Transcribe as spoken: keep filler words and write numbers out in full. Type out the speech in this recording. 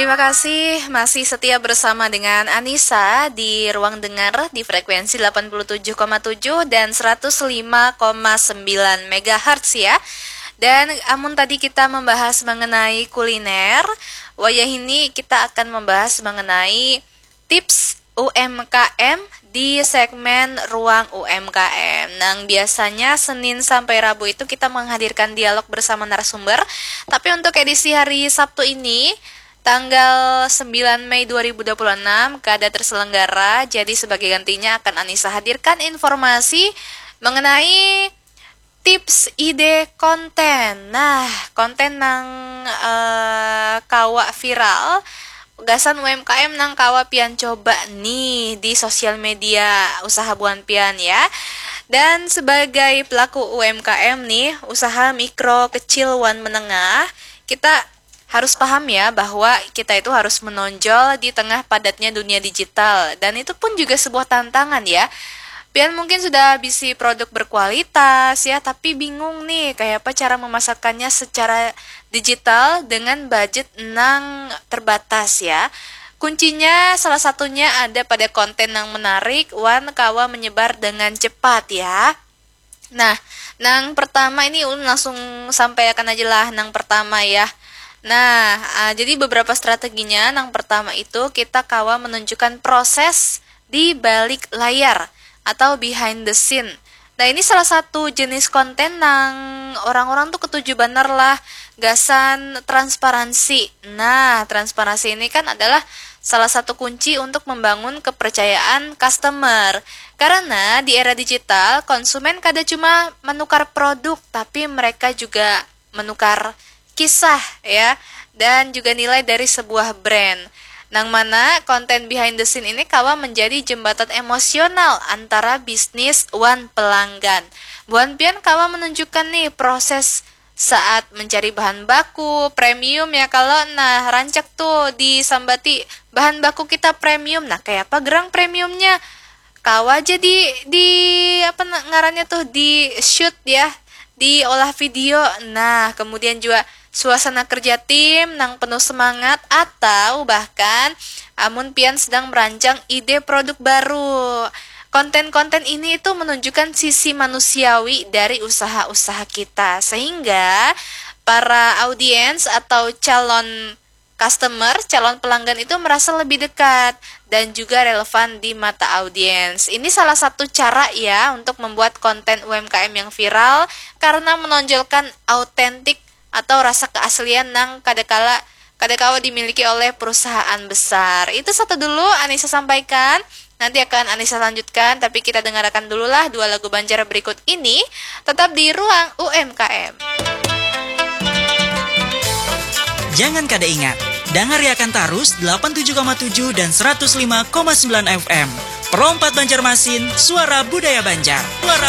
Terima kasih masih setia bersama dengan Anissa di ruang dengar di frekuensi delapan puluh tujuh koma tujuh dan seratus lima koma sembilan megahertz ya. Dan amun tadi kita membahas mengenai kuliner, wayah ini kita akan membahas mengenai tips U M K M di segmen ruang U M K M. Nang biasanya Senin sampai Rabu itu kita menghadirkan dialog bersama narasumber. Tapi untuk edisi hari Sabtu ini, tanggal sembilan Mei dua ribu dua puluh enam, kada terselenggara. Jadi sebagai gantinya akan Anissa hadirkan informasi mengenai tips ide konten. Nah, konten nang eh, kawa viral, gasan U M K M nang kawa pian coba nih di sosial media usaha buan pian ya. Dan sebagai pelaku U M K M nih, usaha mikro, kecil, wan menengah, kita harus paham ya bahwa kita itu harus menonjol di tengah padatnya dunia digital, dan itu pun juga sebuah tantangan ya. Pian mungkin sudah bisi produk berkualitas ya, tapi bingung nih kayak apa cara memasarkannya secara digital dengan budget nang terbatas ya. Kuncinya salah satunya ada pada konten yang menarik wan kawa menyebar dengan cepat ya. Nah, nang pertama ini ulun langsung sampaikan aja lah nang pertama ya. Nah, uh, jadi beberapa strateginya. Nang pertama itu kita kawa menunjukkan proses di balik layar atau behind the scene. Nah, ini salah satu jenis konten nang orang-orang tuh ketuju banar lah, gasan transparansi. Nah, transparansi ini kan adalah salah satu kunci untuk membangun kepercayaan customer. Karena di era digital, konsumen kada cuma menukar produk, tapi mereka juga menukar kisah ya, dan juga nilai dari sebuah brand. Nang mana konten behind the scene ini kawa menjadi jembatan emosional antara bisnis wan pelanggan. Buan pian kawa menunjukkan nih proses saat mencari bahan baku premium ya kalau, nah, rancak tuh disambati bahan baku kita premium. Nah, kayak apa gerang premiumnya? Kawa aja di di apa ngarannya tuh, di shoot ya, diolah video. Nah, kemudian juga suasana kerja tim nang penuh semangat, atau bahkan amun pian sedang merancang ide produk baru. Konten-konten ini itu menunjukkan sisi manusiawi dari usaha-usaha kita, sehingga para audiens atau calon customer, calon pelanggan itu merasa lebih dekat dan juga relevan di mata audiens. Ini salah satu cara ya untuk membuat konten U M K M yang viral karena menonjolkan autentik atau rasa keaslian nang kada kala kada kawa dimiliki oleh perusahaan besar. Itu satu dulu Anissa sampaikan. Nanti akan Anissa lanjutkan, tapi kita dengarkan dululah dua lagu Banjar berikut ini, tetap di ruang U M K M. Jangan kada ingat, dangariakan tarus delapan tujuh koma tujuh dan seratus lima koma sembilan F M. Pro empat Banjarmasin, suara budaya Banjar. Suara